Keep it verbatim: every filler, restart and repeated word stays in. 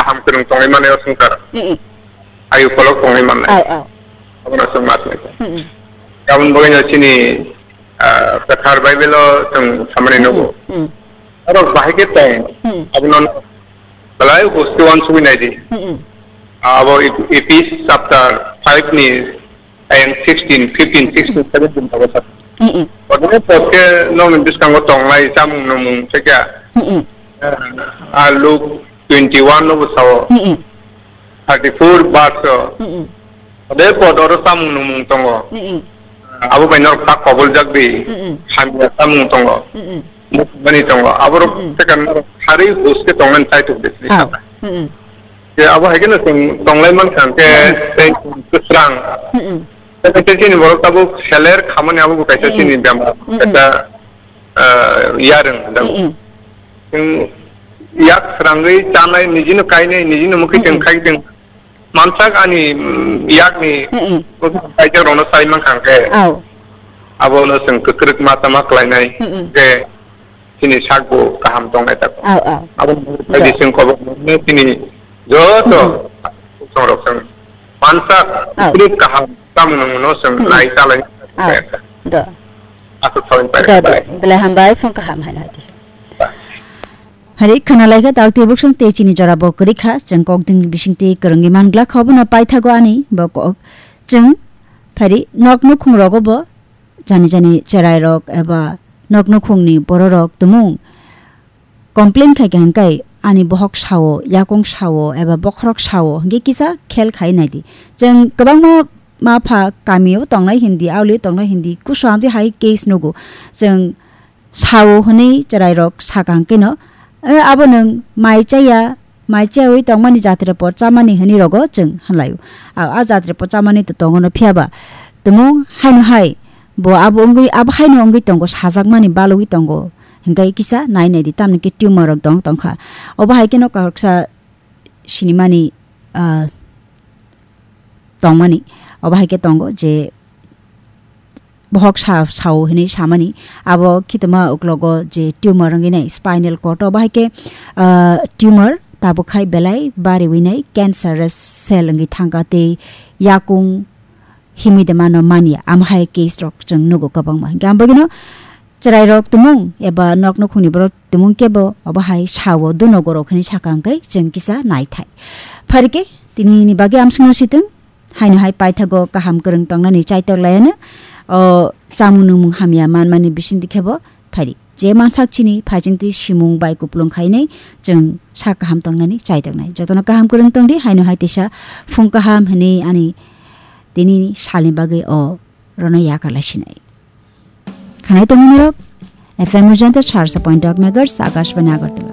Hamkwrwng tongwi mani o swngchar. Mm-mm. Ayu kolok tongwi mannai. Au, au. Abono chwng ma swngwi. Mm-mm. Aboni bagwino chini, ah, kwthar Bible-o chwng samani nugo. Mm-mm. Aro bahai khe tong. Mm-mm. Abono belai busti uansugwi naidi. Mm-mm. Abo Ep-, Ephes chapter five ni ayang sixteen, fifteen, sixteen, seventeen abo sa. Mm-mm. Odebani pore khe nokni bwskango tongnai chamung nwngmung tei khe, Mm-mm. ah, Luke twenty-one no bo sao, Mm-mm. thirty-four verse o. Mm-mm. Ode pod oro chamung nwngmung tongo. Mm-mm. Abo bai norok tak koboljak di, Mm-mm. hamya chamung tongo. Mm-mm. Mani tongo. Aborok Mm-mm. tei kan norok harwi hus khe tongnani chaitok di. Au. Mm-mm. Je abo hai kheno chwng tonglai mankha hwnkhe Mm-mm. tei kwsrang. Mm-mm. Tei kaisa chini borok tabuk seler khamani abo bo kaisa Mm-mm. chini bemar. Mm-mm. Kaisa, ah, yarwng da. Mm-mm. Chwng yak srangwi chanai, nijino kainai, nijino mukhi chwng Mm-mm. khai chwng mansak ani, mm, yakni Mm-mm. kaisa rokno sai mankha hwnkhe. Au. Abono chwng kwkrwk ma tama khlainai Mm-mm. je chini sak bo kaham tongnai tako. Au, au. Abo Do. Baidi chwng kobo chini joto Mm-mm. songrok chwng mansak Au. kwrwk kaham tamo nangmano chwng Mm-mm. nai chalai Au. Do. Aswk sawi Do, do. Belai hambai phone kaham haino hai tisa. Hai khana laikha tak tei buksong tei chini jora bo kwrwi kha, chwng kok ding bising tei kwrwngwi man glak kha, obono paithago ani bo kok. Chwng phari nok nukhung rogo bo jani jani cherai rok eba nok nukhung ni bororok tumung complain khai kha hwnkhe ani bohok sao, yakung sao eba bokhorok sao hwnkhe kisa khel khai naidi. Chwng kwbangma ma pha kami o tongnai hindi, auli tongnai hindi, kusu amtwi hai case nugo. Chwng sao hwnwi chwrairok sakha hwnkhe no, "Eh, abo nwng mai chaya, mai chayaui tongmani jatre por chamani," hwnwi rogo chwng hwnlaio. A, a jatre por chamani to tongo no, phiya ba tumung haino hai bo abo wngwi, abo haino wngwi tongo, sajakmani balugwi tongo, hwnkhe kisa nai nai di, tamni khe tumor rok dong tongkha. Obo hai kheno kaksa sinimani, ah, tongmani. Obo hai khe tongo je bohok sa, sao hinwi samani. Abo khitoma uklogo je tumor wngwi nai spinal cord, obo hai khe, ah, tumor tabuk khai belai bariwi nai cancerous cell wngwi thangkha tei yakung himwi de mano manya. Amo hai case rok chwng nugo kwbangma. Hwnkhe ang bagwino chwrairok tumung eba nok nukhungni borok tumung kebo obo hai sao duno gorok hinwi sakha hwnkhe chwng kisa naithai. Pharikhe tinini bagwi amsukno situng, haino hai paithago kaham kwrwng tongnani chaitok laiano, o chamung nungmung hamya manmani bisingtwi khebo phari. Je mansak chini phaichingtwi simung bai kupulung khainai chwng sak kaham tongnani chaitoknai. Jotono kaham kwrwng tongdi, haino hai tisa phung kaham hinwi ani tinini salni bagwi o rono yakar laisinai. Khanai tongmani rok F M Ujanta charsa point dok megahertz Akashbani Agartala.